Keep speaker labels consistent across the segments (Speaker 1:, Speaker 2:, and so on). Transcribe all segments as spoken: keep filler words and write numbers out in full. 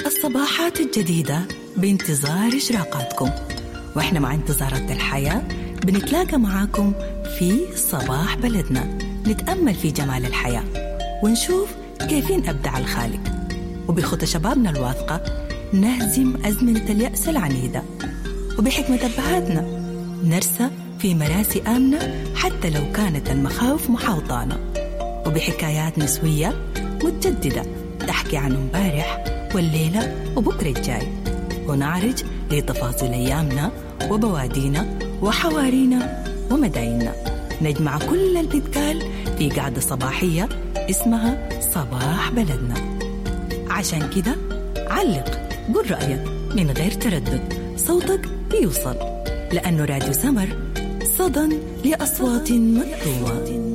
Speaker 1: الصباحات الجديدة بانتظار إشراقاتكم، وإحنا مع انتظارات الحياة بنتلاقى معاكم في صباح بلدنا، نتأمل في جمال الحياة ونشوف كيفين أبدع الخالق، وبخطى شبابنا الواثقة نهزم أزمنة اليأس العنيدة، وبحكمة أبهاتنا نرسى في مراسي آمنة حتى لو كانت المخاوف محاوطانا، وبحكايات نسوية متجددة تحكي عن امبارح والليلة وبكرة الجاي، ونعرج لتفاصيل أيامنا وبوادينا وحوارينا ومدايننا. نجمع كل اللي بيتقال في قعدة صباحية اسمها صباح بلدنا. عشان كده علق، قول رأيك من غير تردد، صوتك بيوصل، لأنه راديو سمر صدى لأصوات مكتومة.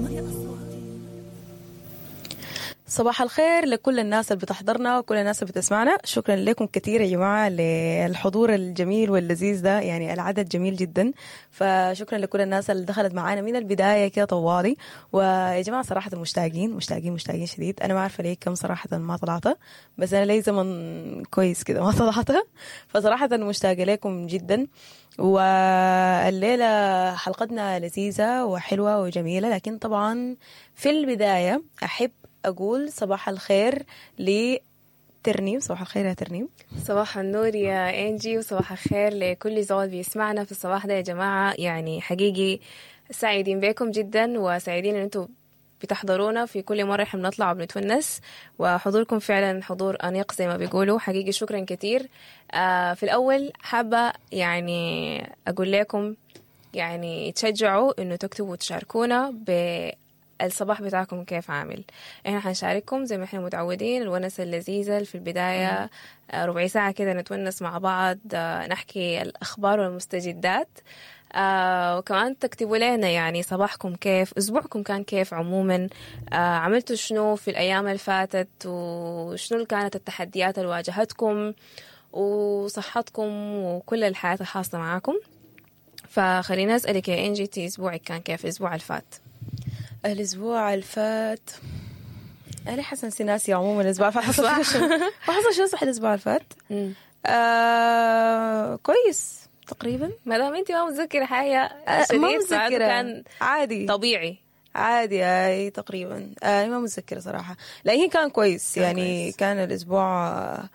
Speaker 2: صباح الخير لكل الناس اللي بتحضرنا وكل الناس اللي بتسمعنا. شكرا لكم كثير يا جماعة للحضور الجميل واللذيذ ده، يعني العدد جميل جدا، فشكرا لكل الناس اللي دخلت معانا من البداية كده طوالي. ويا جماعة صراحة مشتاقين مشتاقين مشتاقين شديد. أنا ما عارفة ليه كم صراحة ما طلعت، بس أنا لي زمن كويس كده ما طلعت، فصراحة مشتاقة لكم جدا. والليلة حلقتنا لذيذة وحلوة وجميلة، لكن طبعا في البداية أحب أقول صباح الخير لترنيم. صباح الخير يا ترنيم.
Speaker 3: صباح النور يا إنجي، وصباح الخير لكل زول بيسمعنا في الصباح ده يا جماعة. يعني حقيقي سعيدين بكم جدا، وسعيدين إن أنتوا بتحضرونا في كل مرة احنا بنطلع وبنتونس، وحضوركم فعلا حضور أنيق زي ما بيقولوا. حقيقي شكرا كتير. آه في الأول حابة يعني أقول لكم يعني تشجعوا إنه تكتبوا وتشاركونا ب الصباح بتاعكم كيف عامل. احنا حنشارككم زي ما احنا متعودين الونس اللذيذة في البداية، ربع ساعة كده نتونس مع بعض، نحكي الأخبار والمستجدات، آه وكمان تكتبوا لنا يعني صباحكم كيف، أسبوعكم كان كيف عموما، آه عملتوا شنو في الأيام اللي فاتت، وشنو كانت التحديات اللي واجهتكم، وصحتكم، وكل الحياة الخاصة معاكم. فخلينا أسألك يا إنجي، تي أسبوعك كان كيف الأسبوع اللي فات؟
Speaker 2: الأسبوع الفات أنا حسن سناسي عموما. الأسبوع الفات حصل شو؟ ما حصل شو صح الأسبوع الفات؟ آه كويس تقريبا.
Speaker 3: ما دام أنت ما متذكرة حاجة شديد،
Speaker 2: ما متذكرة،
Speaker 3: كان
Speaker 2: عادي
Speaker 3: طبيعي
Speaker 2: عادي أي تقريبا. آه ما متذكرة صراحة، لكن كان كويس. كان يعني كويس. كان الأسبوع آه,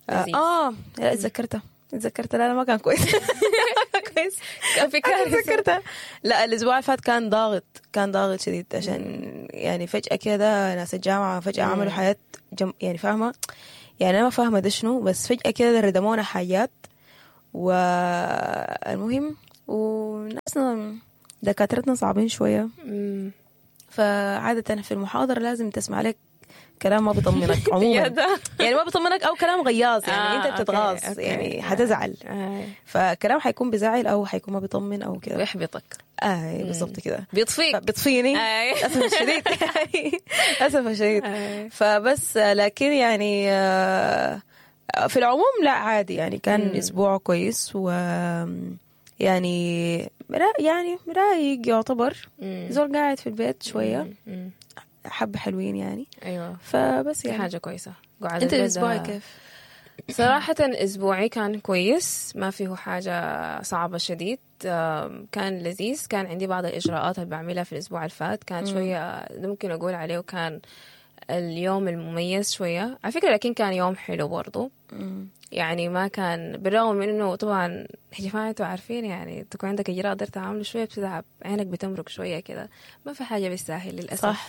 Speaker 2: آه لا اتذكرته اتذكرت لا لا ما كان كويس. كويس
Speaker 3: كان في كارثة.
Speaker 2: اتذكرتها. لا الأسبوع اللي فات كان ضاغط، كان ضاغط شديد، عشان يعني فجأة كده ناس الجامعة فجأة عملوا حاجات جم... يعني فاهمة، يعني أنا ما فاهمة ده شنو، بس فجأة كده ردمونا حاجات. والمهم وناسنا دكاترتنا صعبين شوية، فعادة في المحاضرة لازم تسمع لك كلام ما بيطمنك عموما، يعني ما بيطمنك او كلام غياظ، يعني آه، انت بتتغاظ، يعني حتزعل، آه. فكلام حيكون بزعل او حيكون ما بيطمن او كده،
Speaker 3: ويحبطك.
Speaker 2: اه بالضبط كده،
Speaker 3: بيطفيك،
Speaker 2: بيطفيني للاسف الشديد. للاسف الشديد. فبس لكن يعني في العموم لا عادي، يعني كان مم. اسبوع كويس، و يعني يعني رايق يعتبر. زول قاعد في البيت شوية، مم. حبة حلوين يعني.
Speaker 3: أيوة.
Speaker 2: فبس يعني
Speaker 3: حاجة كويسة.
Speaker 2: أنت الأسبوع كيف؟
Speaker 3: صراحة أسبوعي كان كويس، ما فيه حاجة صعبة شديد، كان لذيذ. كان عندي بعض الإجراءات اللي بعملها في الأسبوع الفات، كان شوية ممكن أقول عليه وكان اليوم المميز شوية على فكرة، لكن كان يوم حلو برضو.
Speaker 2: مم.
Speaker 3: يعني ما كان بالرغم من إنه طبعا يا جماعة أنتوا عارفين يعني تكون عندك إجراء قدرت تعمله شوية بتتعب، عينك بتمرق شوية كده، ما في حاجة بالساهل للأسف.
Speaker 2: صح.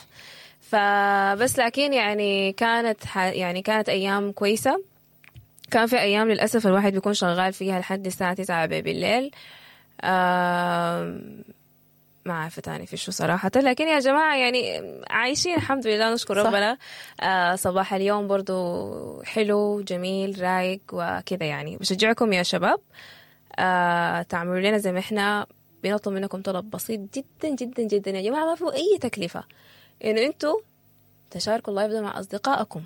Speaker 3: فبس لكن يعني كانت ح... يعني كانت أيام كويسة. كان في أيام للأسف الواحد بيكون شغال فيها لحد الساعة تسعة بالليل، آه... ما عارفة تاني في شو صراحة، لكن يا جماعة يعني عايشين الحمد لله، نشكر ربنا. آه صباح اليوم برضو حلو جميل رايق وكذا، يعني بشجعكم يا شباب آه تعملوا لنا زي ما احنا بنطلب منكم طلب بسيط جدا جدا جدا يا جماعة، ما فيه أي تكلفة، إنه أنتوا تشاركوا ال live ده مع أصدقائكم.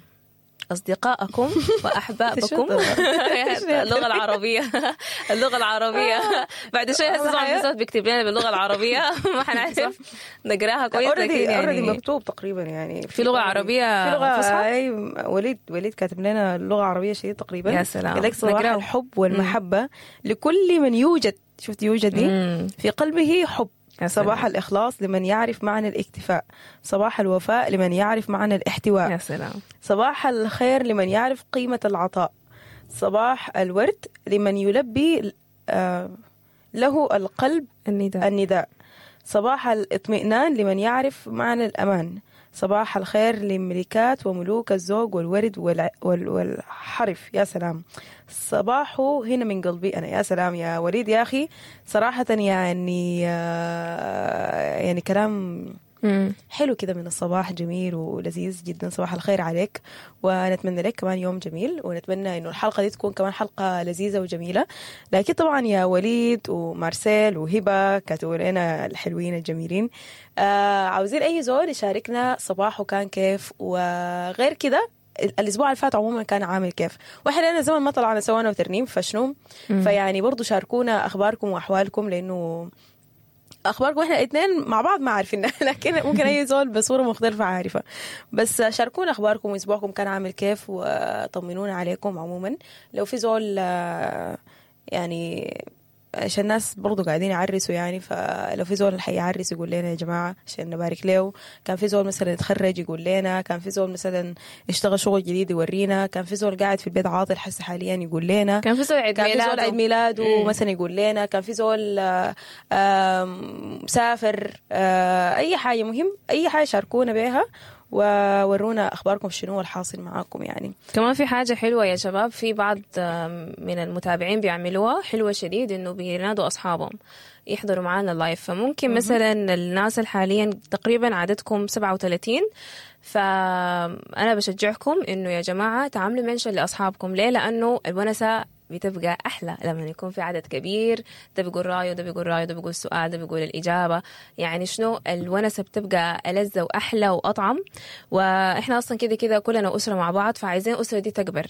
Speaker 3: أصدقائكم وأحبابكم. اللغة العربية، اللغة العربية بعد شوي هسه زول بيكتب لنا باللغة العربية ما حنعرف نقراها كويس، لكن
Speaker 2: يعني already مكتوب تقريبا يعني
Speaker 3: في لغة عربية،
Speaker 2: في لغة، أي وليد وليد كاتب لنا لغة عربية شيء تقريبا.
Speaker 3: يا سلام.
Speaker 2: لك صباح الحب والمحبة لكل من يوجد، شفت يوجد دي، في قلبه حب. صباح الإخلاص لمن يعرف معنى الاكتفاء، صباح الوفاء لمن يعرف معنى الاحتواء،
Speaker 3: يا سلام.
Speaker 2: صباح الخير لمن يعرف قيمة العطاء، صباح الورد لمن يلبي آه له القلب
Speaker 3: النداء.
Speaker 2: النداء، صباح الاطمئنان لمن يعرف معنى الأمان، صباح الخير لملكات وملوك الذوق والورد والحرف. يا سلام، صباحه هنا من قلبي أنا. يا سلام يا وليد يا أخي، صراحة يعني يعني كلام حلو كده من الصباح، جميل ولذيذ جدا. صباح الخير عليك، ونتمنى لك كمان يوم جميل، ونتمنى انه الحلقة دي تكون كمان حلقة لذيذة وجميلة. لكن طبعا يا وليد ومارسيل وهبة كاتبوا لنا الحلوين الجميلين، آه عاوزين اي زول يشاركنا صباحه كان كيف، وغير كده الاسبوع اللي فات عموما كان عامل كيف، واحنا لنا زمان ما طلعنا سوا انا وترنيم فشنو، فيعني برضو شاركونا اخباركم واحوالكم، لانه اخباركم احنا الاثنين مع بعض ما عارفينها، لكن ممكن اي زول بصورة مختلفة عارفه. بس شاركونا اخباركم واسبوعكم كان عامل كيف، وطمنونا عليكم عموما. لو في زول يعني عشان الناس برضو قاعدين يعرسوا يعني، فلو في زول حيعرس يقول لنا يا جماعة عشان نبارك له. كان في زول مثلا يتخرج يقول لنا، كان في زول مثلا اشتغل شغل جديد يورينا، كان في زول قاعد في البيت عاطل حس حاليا يقول لنا،
Speaker 3: كان في زول عيد ميلاده،
Speaker 2: كان في زول عيد ميلاده مثلا يقول لنا، كان في زول مسافر، اي حاجة مهم، اي حاجة شاركونا بيها وورونا أخباركم شنو الحاصل معاكم. يعني
Speaker 3: كمان في حاجة حلوة يا شباب، في بعض من المتابعين بيعملوها حلوة شديد، إنه بينادوا أصحابهم يحضروا معانا ال live. فممكن مثلا الناس حاليا تقريبا عددكم سبعة وثلاثين، فأنا بشجعكم إنه يا جماعة تعملوا mention لأصحابكم. ليه؟ لأنه الونسة بتبقى أحلى لما يكون في عدد كبير، ده بيقول رأيه، ده بيقول رأيه، ده بيقول سؤال، ده بيقول الإجابة. يعني شنو الونسة بتبقى ألذ وأحلى وأطعم. وإحنا أصلا كده كده كلنا أسرة مع بعض، فعايزين الأسرة دي تكبر.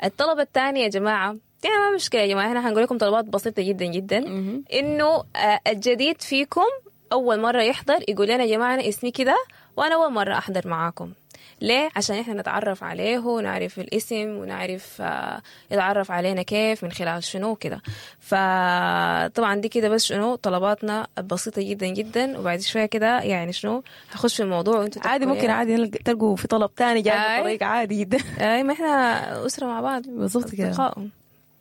Speaker 3: الطلب الثاني يا جماعة، يعني ما مشكلة يا جماعة، إحنا هنقول لكم طلبات بسيطة جدا جدا، إنه الجديد فيكم أول مرة يحضر يقول لنا يا جماعة أنا اسمي كده وأنا أول مرة أحضر معاكم. ليه؟ عشان إحنا نتعرف عليه ونعرف الاسم ونعرف يتعرف علينا كيف من خلال شنو كده. فطبعا دي كده بس شنو طلباتنا البسيطة جدا جدا. وبعد شوية كده يعني شنو هخش في الموضوع وانتوا
Speaker 2: عادي، ممكن عادي تلقوا في طلب تاني جاي بطريقة عادي جدا.
Speaker 3: اي ما احنا أسرة مع بعض
Speaker 2: بالضبط كده.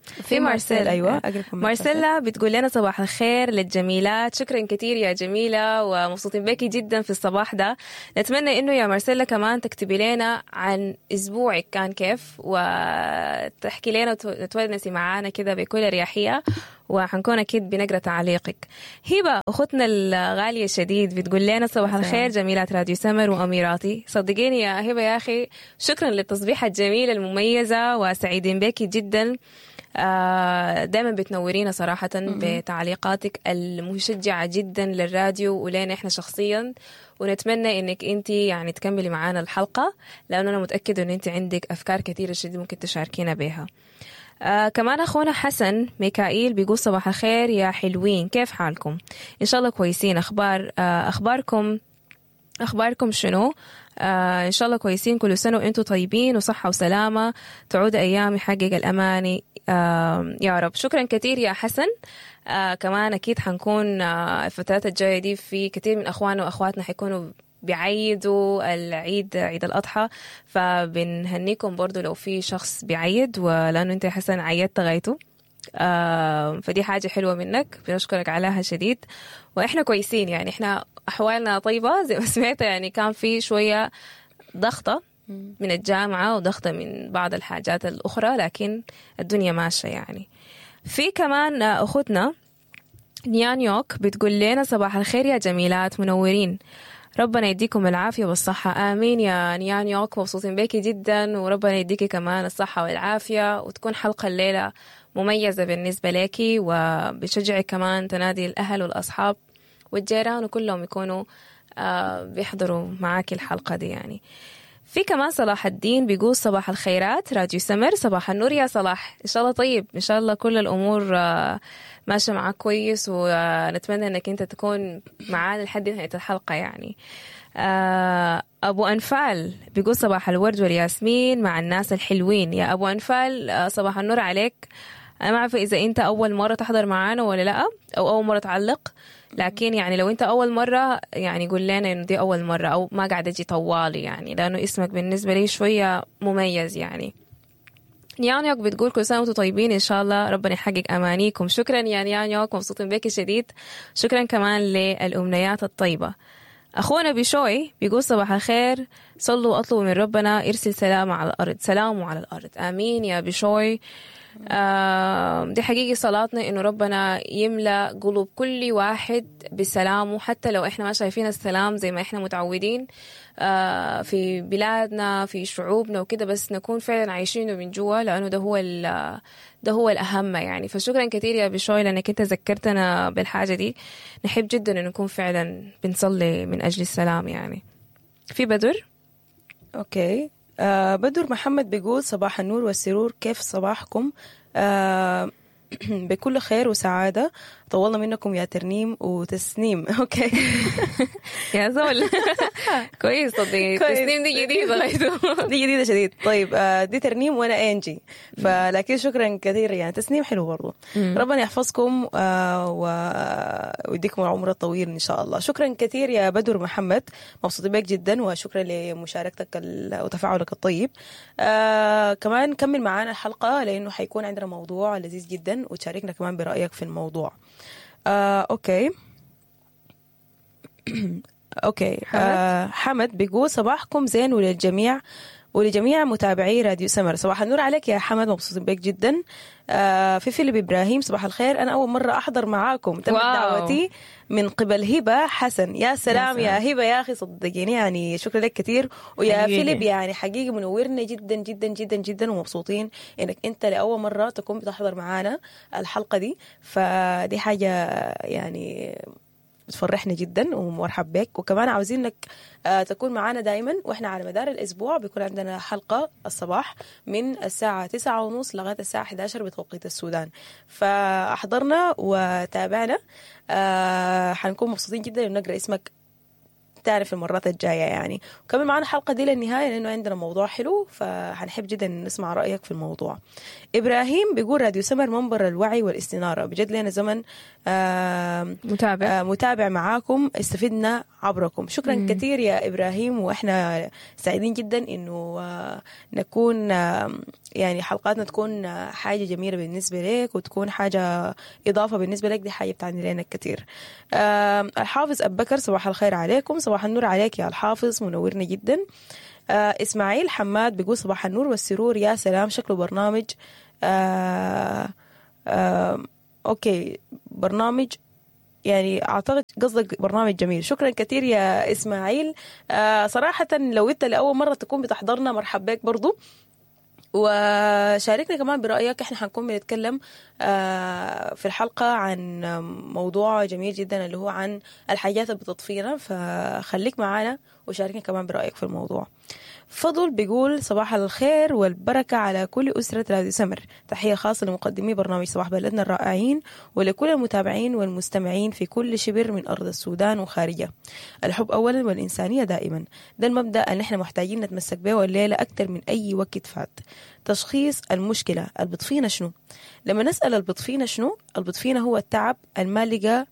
Speaker 3: في مارسيل،
Speaker 2: أيوة
Speaker 3: مارسيلا بتقول لنا صباح الخير للجميلات. شكرا كثير يا جميلة، ومبسوطين بك جدا في الصباح ده. نتمنى إنه يا مارسيلا كمان تكتبي لنا عن أسبوعك كان كيف، وتحكي لنا وتونسي معانا كده بكل أريحية، وحنكون أكيد بنقرأ تعليقك. هبة أختنا الغالية شديد بتقول لنا صباح الخير جميلات راديو سمر وأميراتي. صدقيني يا هبة يا أخي، شكرا للتصبيحة الجميلة المميزة، وسعيدين بك جدا. دائما بتنورينا صراحة بتعليقاتك المشجعة جدا للراديو ولنا احنا شخصيا، ونتمنى انك انت يعني تكملي معانا الحلقة، لانه انا متأكدة ان انت عندك افكار كثيرة جدا ممكن تشاركينا بها. آه كمان أخونا حسن ميكائيل بيقول صباح الخير يا حلوين، كيف حالكم؟ إن شاء الله كويسين. أخبار آه أخباركم أخباركم شنو؟ آه إن شاء الله كويسين، كل سنة وأنتم طيبين وصحة وسلامة، تعود أيام يحقق الأماني آه يا رب. شكرا كثير يا حسن. آه كمان أكيد حنكون آه الفترات الجاية دي في كثير من أخواننا وأخواتنا حيكونوا بيعيدوا العيد، عيد الأضحى، فبنهنيكم برضو لو في شخص بيعيد، ولأنه أنت يا حسن عيدت غايته، آه فدي حاجة حلوة منك، بنشكرك عليها شديد. وإحنا كويسين يعني، إحنا أحوالنا طيبة زي ما سمعت، يعني كان في شوية ضغطة من الجامعة وضغطة من بعض الحاجات الأخرى، لكن الدنيا ماشية يعني. في كمان أخوتنا نيانيوك بتقول لنا صباح الخير يا جميلات منورين، ربنا يديكم العافية والصحة. آمين يا نيانيوك، مبسوطين بيكي جدا، وربنا يديكي كمان الصحة والعافية، وتكون حلقة الليلة مميزة بالنسبة لك، وبشجعك كمان تنادي الأهل والأصحاب والجيران وكلهم يكونوا بيحضروا معاكي الحلقة دي يعني. في كمان صلاح الدين بيقول صباح الخيرات راديو سمر. صباح النور يا صلاح، إن شاء الله طيب، إن شاء الله كل الأمور ماشية معاك كويس، ونتمنى أنك أنت تكون معانا لحد نهاية الحلقة يعني. أبو أنفال بيقول صباح الورد والياسمين مع الناس الحلوين. يا أبو أنفال صباح النور عليك. أنا ما أعرف إذا أنت أول مرة تحضر معانا ولا لأ، أو أول مرة تعلق، لكن يعني لو أنت أول مرة يعني قول لنا إنه دي أول مرة أو ما قاعدة أجي طوالي يعني، لأنه اسمك بالنسبة لي شوية مميز يعني. نيانيوك بتقول كل سنة وأنتم طيبين، إن شاء الله ربنا يحقق أمانيكم. شكرا يا نيانيوك، مبسوطين بك شديد. شكرا كمان للأمنيات الطيبة. أخونا بشوي بيقول صباح الخير، صلوا وأطلبوا من ربنا يرسل سلام على الأرض، سلامه على الأرض. آمين يا بشوي. آه دي حقيقي صلاتنا إنه ربنا يملأ قلوب كل واحد بسلامه، حتى لو إحنا ما شايفين السلام زي ما إحنا متعودين آه في بلادنا في شعوبنا وكده، بس نكون فعلا عايشينه من جوا، لأنه ده هو ده هو الأهم يعني. فشكرا كثير يا بشوي لأنك أنت ذكرتنا بالحاجة دي. نحب جدا إنه نكون فعلا بنصلي من أجل السلام يعني. في بدر.
Speaker 2: okay. آه بدر محمد بيقول صباح النور والسرور، كيف صباحكم؟ آه بكل خير وسعادة، طولنا منكم يا ترنيم وتسنيم. okay
Speaker 3: يا زول كويس، صدقني تسنيم دي جديدة غايته،
Speaker 2: دي جديدة شديد. طيب آه دي ترنيم وانا انجي، فلكن شكرا كثير يعني، تسنيم حلو برضو. ربنا يحفظكم آه ويديكم العمر الطويل ان شاء الله. شكرا كثير يا بدر محمد، مبسوط بك جدا، وشكرا لمشاركتك وتفاعلك الطيب. آه كمان كمل معانا الحلقة لانه حيكون عندنا موضوع لذيذ جدا، وتشاركنا كمان برأيك في الموضوع. آه، okay okay. حمد. آه، حمد بيقول صباحكم زين وللجميع ولجميع متابعي راديو سمر. صباح النور عليك يا حمد، مبسوطين بك جدا. آه، في فيليب إبراهيم صباح الخير، أنا أول مرة أحضر معاكم، تم دعوتي من قبل هبة حسن. يا سلام يا, سلام. يا هبة يا أخي، صدقيني يعني شكرا لك كثير. ويا حقيقي. فيليب يعني حقيقي منورنا جدا جدا جدا جدا، ومبسوطين إنك أنت لأول مرة تكون بتحضر معانا الحلقة دي، فدي حاجة يعني بتفرحنا جدا، ومرحب بك. وكمان عاوزين انك تكون معانا دايما، واحنا على مدار الاسبوع بيكون عندنا حلقة الصباح من الساعة تسعة ونص لغاية الساعة إحدى عشر بتوقيت السودان، فاحضرنا وتابعنا. حنكون مبسوطين جدا ان نقرأ اسمك تعرف المرات الجاية يعني. وكمان معنا الحلقة دي للنهاية لأنه عندنا موضوع حلو، فحنحب جدا نسمع رأيك في الموضوع. إبراهيم بيقول راديو سمر منبر الوعي والاستنارة، بجد لنا زمن آه
Speaker 3: متابع
Speaker 2: آه متابع معاكم، استفدنا عبركم. شكرا مم. كثير يا إبراهيم، وإحنا سعيدين جدا إنه آه نكون آه يعني حلقاتنا تكون حاجة جميلة بالنسبة لك، وتكون حاجة إضافة بالنسبة لك، دي حاجة بتعني لنا كثير. آه الحافظ أبو بكر صباح الخير عليكم. صباح النور عليك يا الحافظ، منورنا جدا. آه إسماعيل حماد بيقول صباح النور والسرور، يا سلام شكله برنامج آه آه okay برنامج يعني أعتقد قصدك برنامج جميل. شكرا كثير يا إسماعيل. آه صراحة لو أنت لأول مرة تكون بتحضرنا مرحب بك برضو، وشاركنا كمان برأيك. احنا حنكون بنتكلم في الحلقة عن موضوع جميل جدا اللي هو عن الحاجات اللي بتطفينا، فخليك معانا وشاركنا كمان برأيك في الموضوع. فضل بيقول صباح الخير والبركة على كل أسرة راديو سمر، تحية خاصة لمقدمي برنامج صباح بلدنا الرائعين ولكل المتابعين والمستمعين في كل شبر من أرض السودان وخارجه. الحب أولا والإنسانية دائما، ده المبدأ اللي احنا محتاجين نتمسك به والليلة أكثر من أي وقت فات. تشخيص المشكلة، البطفينة شنو؟ لما نسأل البطفينة شنو، البطفينة هو التعب المالقة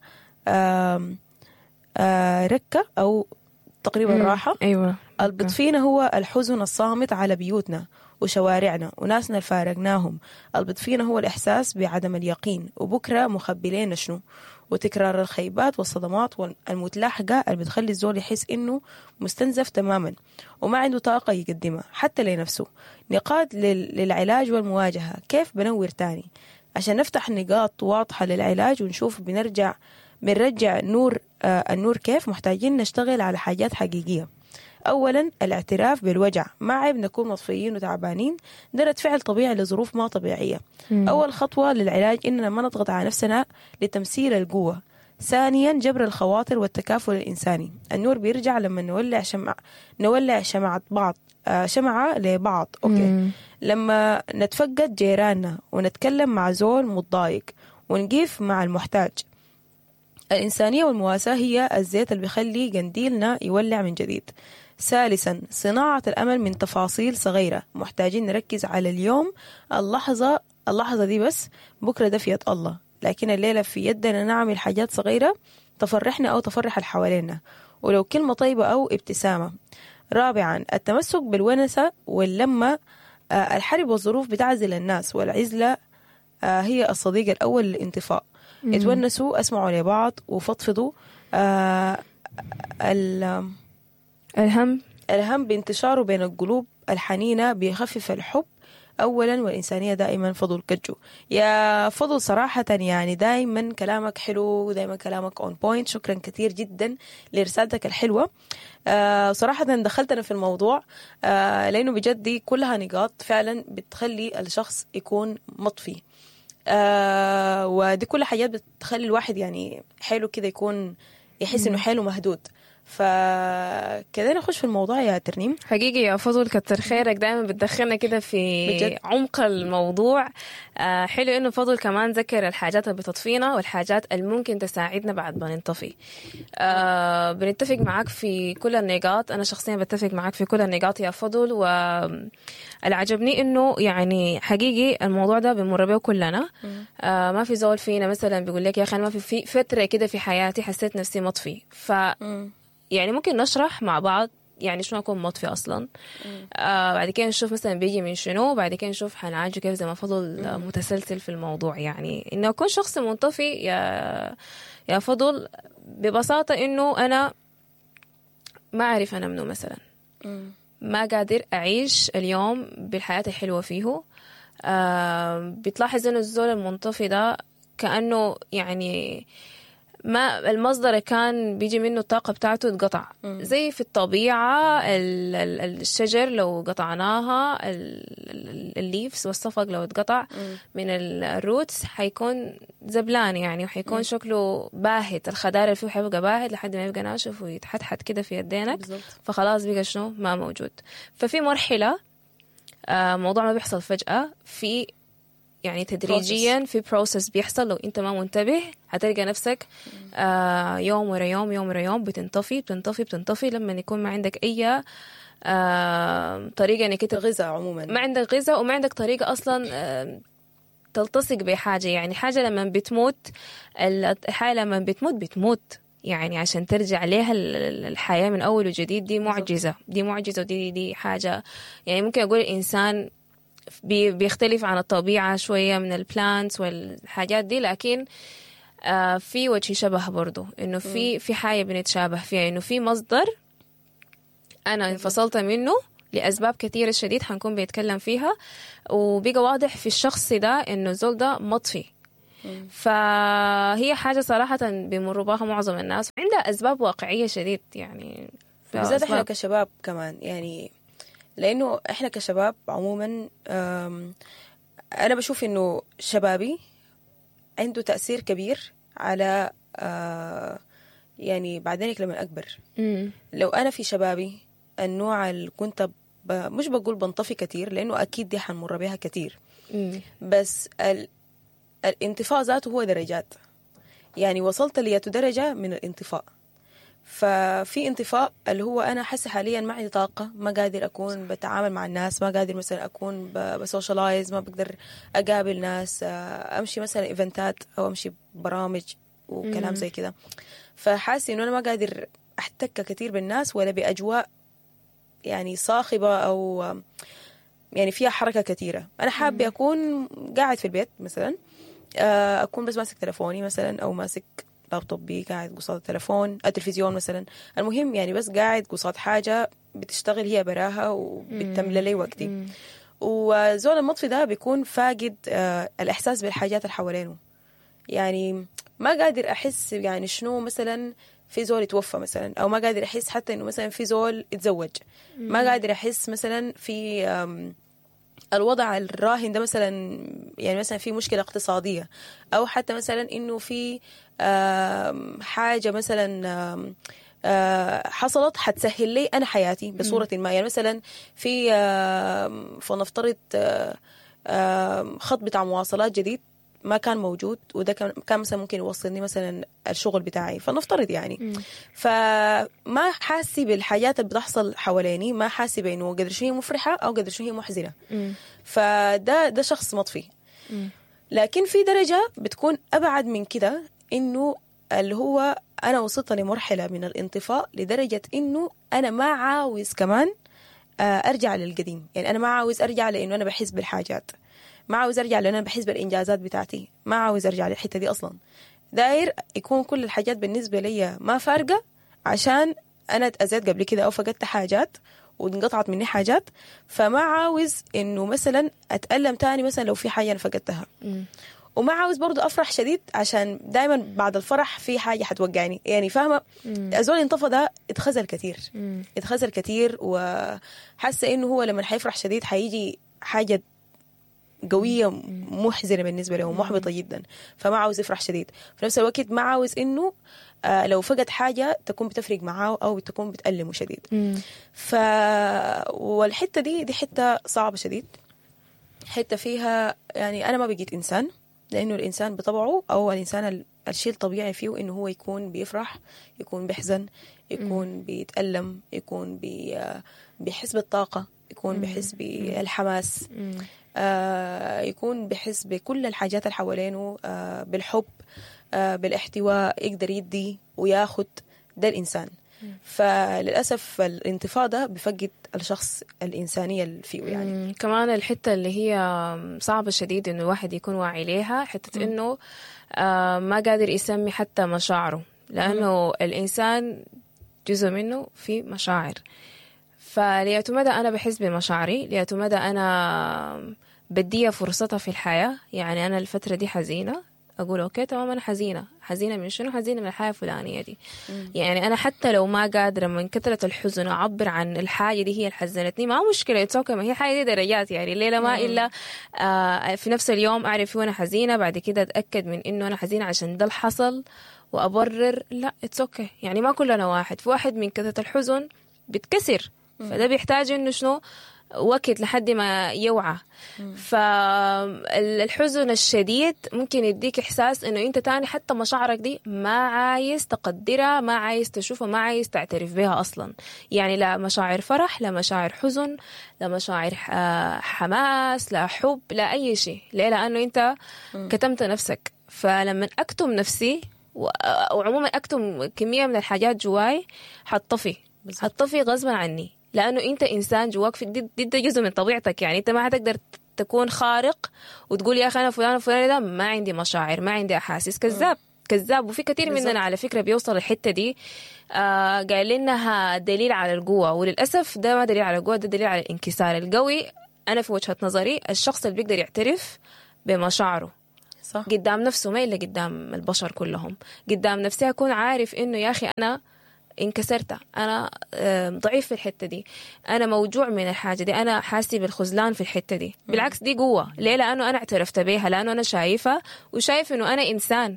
Speaker 2: ركة أو تقريبا راحة.
Speaker 3: أيوة.
Speaker 2: البطفينة هو الحزن الصامت على بيوتنا وشوارعنا وناسنا اللي فارقناهم. البطفينة هو الإحساس بعدم اليقين وبكرة مخبلين شنو، وتكرار الخيبات والصدمات المتلاحقة اللي بتخلي الزول يحس إنه مستنزف تماما وما عنده طاقة يقدمها حتى لنفسه. نقاط للعلاج والمواجهة، كيف بنور تاني عشان نفتح نقاط واضحة للعلاج ونشوف بنرجع بنرجع نور آه النور كيف. محتاجين نشتغل على حاجات حقيقية. أولا الاعتراف بالوجع، ما عيب نكون مطفيين وتعبانين، ده رد فعل طبيعي لظروف ما طبيعية. مم. أول خطوة للعلاج إننا ما نضغط على نفسنا لتمثيل القوة. ثانيا جبر الخواطر والتكافل الإنساني، النور بيرجع لما نولع شمع نولع شمعة بعض، آه، شمعة لبعض. okay.
Speaker 3: مم.
Speaker 2: لما نتفقد جيراننا ونتكلم مع زول متضايق ونقيف مع المحتاج. الإنسانية والمواساة هي الزيت اللي بيخلي قنديلنا يولع من جديد. ثالثا، صناعة الأمل من تفاصيل صغيرة. محتاجين نركز على اليوم، اللحظة، اللحظة دي بس، بكرة ده في يد الله، لكن الليلة في يدنا نعمل حاجات صغيرة تفرحنا أو تفرح اللي حوالينا، ولو كلمة طيبة أو ابتسامة. رابعا، التمسك بالونسة واللمة. آه، الحرب والظروف بتعزل الناس، والعزلة آه، هي الصديق الأول للانطفاء. اتونسوا، اسمعوا لبعض وفضفضوا. آه، ال-
Speaker 3: الهم
Speaker 2: الهم بانتشاره بين القلوب الحنينة بيخفف الحب أولا والإنسانية دائما. فضل كجو يا فضل، صراحة يعني دائما كلامك حلو، دائما كلامك on point. شكرا كثير جدا لرسالتك الحلوة. آه صراحة دخلتنا في الموضوع، آه لأنه بجد دي كلها نقاط فعلا بتخلي الشخص يكون مطفي، آه ودي كل حاجات بتخلي الواحد يعني حيله كده يكون يحس إنه حيله مهدود. فكده نخش في الموضوع يا ترنيم.
Speaker 3: حقيقي يا فضل كتر خيرك، دايما بتدخلنا كده في
Speaker 2: بجد.
Speaker 3: عمق الموضوع. آه حلو انه فضل كمان ذكر الحاجات اللي بتطفينا والحاجات اللي ممكن تساعدنا بعد ما ننطفي. آه بنتفق معاك في كل النقاط، انا شخصيا بتفق معاك في كل النقاط يا فضل. والعجبني انه يعني حقيقي الموضوع ده بنمر به كلنا. آه ما في زول فينا مثلا بيقول لك يا اخي انا ما في في فترة كده في حياتي حسيت نفسي مطفي. ف يعني ممكن نشرح مع بعض يعني شنو اكون مطفي اصلا. آه بعد كده نشوف مثلا بيجي من شنو، بعد كده نشوف حنعالجه كيف زي ما فضل آه، متسلسل في الموضوع. يعني انه اكون شخص منطفي يا يا فضل ببساطة انه انا ما اعرف انا منو مثلا، ما قادر اعيش اليوم بالحياة الحلوة فيه. آه بتلاحظ انه الزول المنطفي ده كانه يعني ما المصدر كان بيجي منه الطاقة بتاعته اتقطع. زي في الطبيعة ال- ال- الشجر لو قطعناها، ال- ال- ال leaves والصفق لو اتقطع من ال- ال roots حيكون زبلان يعني، وحيكون شكله باهت، الخضار اللي فيه حيبقى باهت لحد ما يبقى ناشف ويتحتحت كده في يدينك.
Speaker 2: بالظبط.
Speaker 3: فخلاص بقى شنو ما موجود. ففي مرحلة، آه، موضوع ما بيحصل فجأة، في يعني تدريجيا في process بيحصل. لو انت ما منتبه هتلقى نفسك آه يوم ورا يوم، يوم ورا يوم بتنطفي بتنطفي بتنطفي لما يكون ما عندك اي آه طريقه انك انت
Speaker 2: غذاء عموما.
Speaker 3: ما عندك غذاء وما عندك طريقه اصلا آه تلتصق بحاجة. يعني حاجة لما بتموت، الحياة لما بتموت بتموت يعني عشان ترجع لها ال- ال- الحياة من أول وجديد دي معجزة، دي معجزة، ودي دي حاجة يعني ممكن أقول الإنسان بي بيختلف عن الطبيعة شوية من ال plants والحاجات دي، لكن آه في وجه شبه برضو، إنه في في حاجة بنتشابه فيها، إنه في مصدر أنا انفصلت منه لأسباب كثيرة شديد حنكون بنتكلم فيها، وبقى واضح في الشخص ده إنه الزول ده مطفي. فهي حاجة صراحة بيمروا بها معظم الناس، عندها أسباب واقعية شديد يعني،
Speaker 2: بالذات احنا
Speaker 3: أسباب.
Speaker 2: كشباب كمان يعني، لانه احنا كشباب عموما أم، انا بشوف انه شبابي عنده تأثير كبير على آه، يعني بعدينك لما اكبر.
Speaker 3: مم.
Speaker 2: لو انا في شبابي النوع اللي كنت ب... مش بقول بنطفي كتير لانه اكيد دي حنمر بيها كتير،
Speaker 3: مم.
Speaker 2: بس ال... الانطفاء ذاته هو درجات. يعني وصلت لياتو درجة من الانطفاء. ففي انطفاء اللي هو أنا حاسة حاليا ما عندي طاقة، ما قادر أكون بتعامل مع الناس، ما قادر مثلا أكون ب- ب socialize، ما بقدر أقابل ناس، آه، أمشي مثلا event ات أو أمشي برامج وكلام زي كده. فحاسة إنه أنا ما قادر أحتك كثير بالناس ولا بأجواء يعني صاخبة أو يعني فيها حركة كثيرة. أنا حابة أكون قاعد في البيت مثلا، آه، أكون بس ماسك تلفوني مثلا أو ماسك لابتوبي، قاعد قصاد التلفون التلفزيون مثلا. المهم يعني بس قاعد قصاد حاجة بتشتغل هي براها وبتملى لي وقتي. وزول المطفي ده بيكون فاقد آه، الإحساس بالحاجات اللي حوالينه. يعني ما قادر أحس يعني شنو مثلا في زول يتوفى مثلا، أو ما قادر أحس حتى إنه مثلا في زول اتزوج، ما قادر أحس مثلا في آم، الوضع الراهن ده مثلا، يعني مثلا في مشكلة اقتصادية، أو حتى مثلا إنه في آم، حاجة مثلا آم، آه، حصلت حتسهل لي انا حياتي بصورة ما. يعني مثلا في آه، فلنفترض آه، آه، خط بتاع مواصلات جديد ما كان موجود، وده كان كان مثلا ممكن يوصلني مثلا الشغل بتاعي، فلنفترض يعني. فما حاسي بالحاجات اللي بتحصل حواليني، ما حاسي بانه قدر شنو هي مفرحة او قدر شنو هي محزنه. فده ده شخص مطفي. لكن في درجة بتكون أبعد من كده، إنه اللي هو أنا وصلت لمرحلة من الانطفاء لدرجة إنه أنا ما عاوز كمان آه، أرجع للقديم. يعني أنا ما عاوز أرجع لأنه أنا بحس بالحاجات، ما عاوز أرجع لأنه أنا بحس بالإنجازات بتاعتي، ما عاوز أرجع للحتة دي أصلا. داير يكون كل الحاجات بالنسبة لي ما فارقة، عشان أنا اتأذيت قبل كده أو فقدت حاجات وانقطعت مني حاجات، فما عاوز إنه مثلا أتألم تاني مثلا لو في حاجة أنا فقدتها. وما عاوز برضو أفرح شديد، عشان دايما بعد الفرح في حاجة حتوقعني. يعني فاهمة، الزول انطفى ده اتخزل كتير، اتخزل كتير، وحاسة إنه هو لما حيفرح شديد حيجي حاجة قوية محزنة بالنسبة له ومحبطة جدا، فما عاوز يفرح شديد. في نفس الوقت ما عاوز إنه آه لو فقد حاجة تكون بتفرق معاه أو تكون بتألمه شديد. ف والحتة دي دي حتة صعبة شديد، حتة فيها يعني أنا ما بقيت إنسان، لأنه الإنسان بطبعه أو الإنسان ال- الشيء الطبيعي فيه إنه هو يكون بيفرح، يكون بيحزن، يكون بيتألم، يكون بي بيحس بالطاقة، يكون بيحس بالحماس، آه يكون بيحس بكل الحاجات اللي حوالينه، آه بالحب، آه بالاحتواء، يقدر يدي وياخد. ده الإنسان. فللأسف الانتفاضة بفقد الشخص الإنسانية اللي فيه يعني.
Speaker 3: مم. كمان الحتة اللي هي صعبة شديد إنه الواحد يكون واعي ليها، حتة إنه آه ما قادر يسمي حتى مشاعره، لأنه الإنسان جزء منه في مشاعر. فليأتو مدى أنا بحس بمشاعري، ليأتو مدى أنا بديها فرصتها في الحياة. يعني أنا الفترة دي حزينة، أقول okay تمام أنا حزينة، حزينة من شنو؟ حزينة من الحياة الفلانية دي. يعني أنا حتى لو ما قادرة من كثرة الحزن أعبر عن الحاجة دي هي اللي حزنتني، ما مشكلة، it's okay، ما هي حاجة دي درجات يعني. الليلة ما إلا آه في نفس اليوم أعرف وأنا حزينة، بعد كده أتأكد من إنه أنا حزينة عشان ده اللي حصل وأبرر، لا it's okay. يعني ما كلنا واحد، في واحد من كثرة الحزن بتكسر، فده بيحتاج إنه شنو وقت لحد ما يوعى. فالحزن الشديد ممكن يديك إحساس إنه أنت تاني حتى مشاعرك دي ما عايز تقدرها، ما عايز تشوفها، ما عايز تعترف بها أصلا. يعني لا مشاعر فرح، لا مشاعر حزن، لا مشاعر آه، حماس، لا حب، لا أي شيء. ليه؟ لأنه أنت كتمت نفسك. فلما أكتم نفسي و- وعموما أكتم كمية من الحاجات جواي، حتطفي، حتطفي غصبا عني، لأنه أنت إنسان جواك في دي, دي, ده جزء من طبيعتك. يعني أنت ما حتقدر تكون خارق وتقول يا أخي أنا فلان وفلان ده ما عندي مشاعر، ما عندي أحاسيس. كذاب، كذاب. وفي كثير
Speaker 2: بالظبط.
Speaker 3: مننا على فكرة بيوصل الحتة دي، آه قال إنها دليل على القوة، وللأسف ده ما دليل على القوة، ده دليل على الانكسار. القوي أنا في وجهة نظري الشخص اللي بيقدر يعترف بمشاعره
Speaker 2: صح.
Speaker 3: قدام نفسه، ما إلا قدام البشر كلهم. قدام نفسي أكون عارف إنه يا أخي أنا انكسرت، أنا آه، ضعيف في الحتة دي، أنا موجوع من الحاجة دي، أنا حاسي بالخذلان في الحتة دي. بالعكس دي قوة. ليه؟ لأنه أنا اعترفت بيها، لأنه أنا شايفة وشايف إنه أنا إنسان.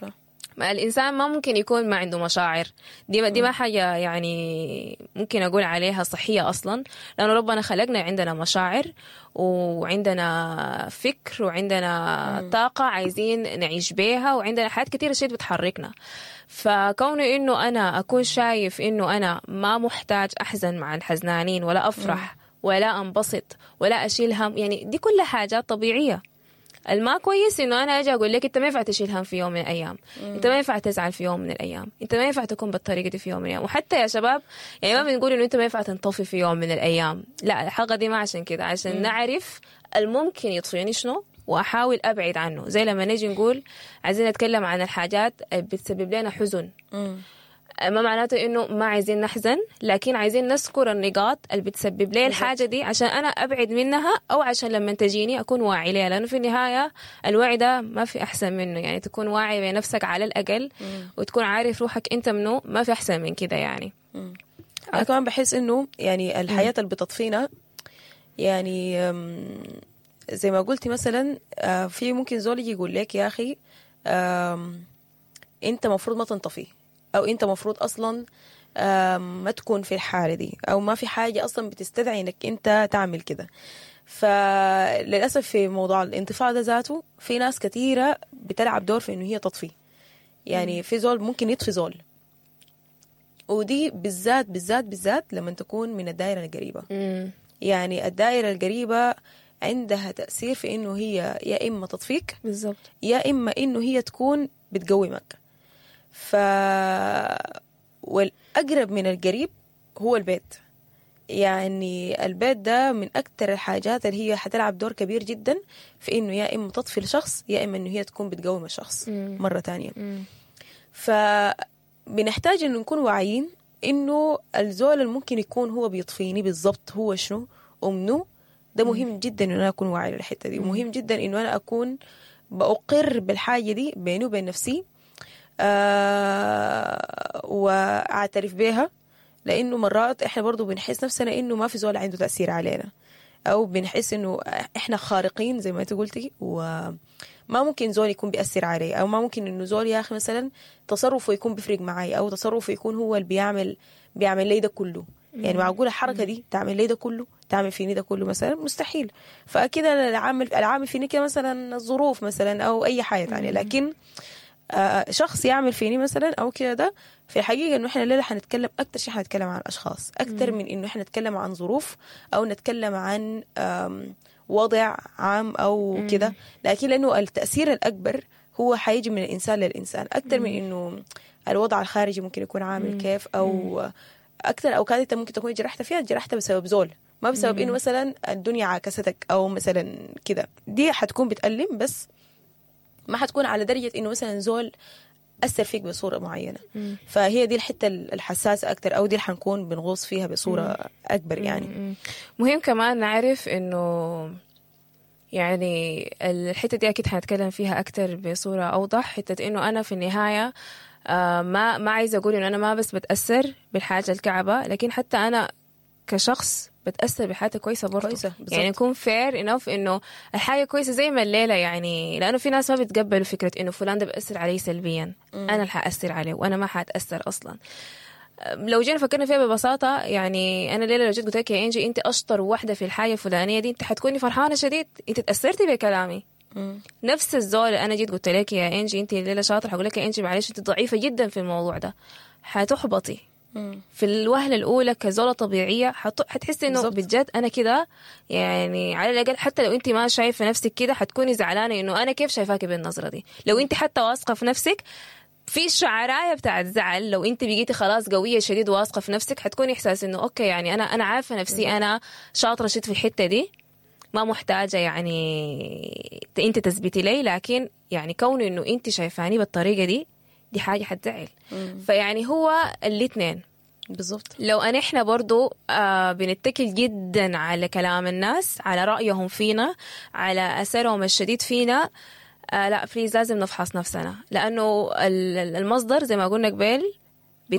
Speaker 2: صح.
Speaker 3: ما الإنسان ما ممكن يكون ما عنده مشاعر، دي ما دي ما حاجة يعني ممكن أقول عليها صحية أصلا، لأنه ربنا خلقنا عندنا مشاعر وعندنا فكر وعندنا طاقة عايزين نعيش بيها، وعندنا حاجات كتيرة شيء بتحركنا. فكونه إنه أنا أكون شايف إنه أنا ما محتاج أحزن مع الحزنانين، ولا أفرح ولا أنبسط ولا أشيل هم، يعني دي كلها حاجات طبيعية. الما كويس انه انا اجي اقول لك انت ما ينفع تشيل هم في يوم من الايام، انت ما ينفع تزعل في يوم من الايام، انت ما ينفع تكون بالطريقة دي في يوم من الايام. وحتى يا شباب يعني ما بنقول انه انت ما ينفع تنطفي في يوم من الايام، لا، الحلقة دي ما عشان كده، عشان مم. نعرف الممكن يطفيني شنو واحاول ابعد عنه. زي لما نيجي نقول عايزين نتكلم عن الحاجات اللي بتسبب لنا حزن،
Speaker 2: مم.
Speaker 3: ما معناته انه ما عايزين نحزن، لكن عايزين نذكر النقاط اللي بتسبب لي الحاجة دي عشان انا ابعد منها، او عشان لما تجيني اكون واعي ليها. لانه في النهاية الوعي ده ما في احسن منه، يعني تكون واعي بنفسك على الاقل وتكون عارف روحك انت منو، ما في احسن من كده يعني.
Speaker 2: انا كمان بحس انه يعني الحياة اللي بتطفينا يعني أم، زي ما قلتي مثلا، آه، في ممكن زول يجي يقول لك يا اخي آم، انت مفروض ما تنطفي، او انت مفروض اصلا ما تكون في الحالة دي، أو ما في حاجة أصلا بتستدعي إنك أنت تعمل كده. فللأسف في موضوع الانطفاء ده ذاته في ناس كثيرة بتلعب دور في إنه هي تطفي. يعني في زول ممكن يطفي زول، ودي بالذات بالذات بالذات لما تكون من الدائرة القريبة.
Speaker 3: مم.
Speaker 2: يعني الدائرة القريبة عندها تأثير في إنه هي يا إما تطفيك
Speaker 3: بالضبط،
Speaker 2: يا إما إنه هي تكون بتقومك. ف والأقرب من القريب هو البيت. يعني البيت ده من أكتر الحاجات اللي هي حتلعب دور كبير جدا في إنه يا إما تطفي الشخص يا إما إنه هي تكون بتقوم الشخص.
Speaker 3: مم.
Speaker 2: مرة تانية.
Speaker 3: مم.
Speaker 2: فبنحتاج إنه نكون واعيين إنه الزول اللي ممكن يكون هو بيطفيني بالضبط هو شنو ومنو. ده مهم جدا إنه أنا أكون واعي للحتة دي، ومهم جدا إنه أنا أكون بأقر بالحاجة دي بيني وبين نفسي، آه وأعترف بيها. لأنه مرات إحنا برضو بنحس نفسنا إنه ما في زول عنده تأثير علينا، أو بنحس إنه إحنا خارقين زي ما أنت قلتي، وما ممكن زول يكون بيأثر علي، أو ما ممكن إنه زول يا أخي مثلا تصرفه يكون بيفرق معي، أو تصرفه يكون هو اللي بيعمل بيعمل لي ده كله. يعني معقولة الحركة دي تعمل لي ده كله، تعمل فيني ده كله مثلا؟ مستحيل. فأكيد أنا العامل العامل فيني كده مثلا الظروف مثلا أو أي حاجة تانية، لكن آه شخص يعمل فيني مثلا أو كده، ده في الحقيقة إنه إحنا الليلة حنتكلم أكتر شيء، حنتكلم عن أشخاص أكتر من إنه إحنا نتكلم عن ظروف أو نتكلم عن وضع عام أو كده، لكن لأنه التأثير الأكبر هو حيجي من الإنسان للإنسان أكتر من إنه الوضع الخارجي ممكن يكون عامل كيف، أو أكثر أوقات أنت ممكن تكون جرحت فيها جرحت بسبب زول، ما بسبب إنه مثلا الدنيا عاكستك أو مثلا كده. دي حتكون بتألم، بس ما حتكون على درجة إنه مثلا زول أثر فيك بصورة معينة.
Speaker 3: مم.
Speaker 2: فهي دي الحتة الحساسة أكتر، أو دي اللي حنكون بنغوص فيها بصورة
Speaker 3: مم.
Speaker 2: أكبر يعني.
Speaker 3: مم. مهم كمان نعرف إنه يعني الحتة دي أكيد حنتكلم فيها أكتر بصورة أوضح، حتة إنه أنا في النهاية آه ما ما عايزة أقول إنه أنا ما بس بتأثر بالحاجة الكعبة، لكن حتى أنا كشخص بتأثر بحاجة كويسة برضه.
Speaker 2: كويسة بالضبط.
Speaker 3: يعني نكون fair enough إنه الحاجة كويسة زي ما الليلة، يعني لأنه في ناس ما بيتقبلوا فكرة إنه فلان ده بأثر علي سلبيا،
Speaker 2: مم.
Speaker 3: أنا اللي حأثر عليه وأنا ما حأتأثر أصلا. لو جينا فكرنا فيها ببساطة، يعني أنا الليلة لو جيت قلت لك يا إنجي أنت أشطر واحدة في الحاجة الفلانية دي، أنت حتكوني فرحانة شديد، أنت تأثرتي بكلامي.
Speaker 2: مم.
Speaker 3: نفس الزول أنا جيت قلت لك يا إنجي أنت الليلة شاطرة، حقول لك يا إنجي معلش أنت ضعيفة جدا في الموضوع ده، حتحبطي
Speaker 2: مم.
Speaker 3: في الوهلة الأولى كزولة طبيعية، حت... حتحسي إنه
Speaker 2: بالضبط.
Speaker 3: بجد أنا كده، يعني على الأقل حتى لو أنت ما شايفة نفسك كده حتكوني زعلانة إنه أنا كيف شايفاكي بالنظرة دي. لو أنت حتى واثقة في نفسك في شعراية بتاعت زعل، لو أنت بقيتي خلاص قوية شديد واثقة في نفسك حتكوني إحساس إنه okay يعني أنا أنا عارفة نفسي، أنا شاطرة شديد في الحتة دي، ما محتاجة يعني أنت تثبتي لي، لكن يعني كون إنه أنت شايفاني بالطريقة دي، دي حاجة حتزعل. فيعني هو الاثنين
Speaker 2: بالضبط.
Speaker 3: لو أن إحنا برضو آه بنتكل جدا على كلام الناس، على رأيهم فينا، على أثرهم الشديد فينا، آه لا please لازم نفحص نفسنا، لأنه المصدر زي ما قلنا قبل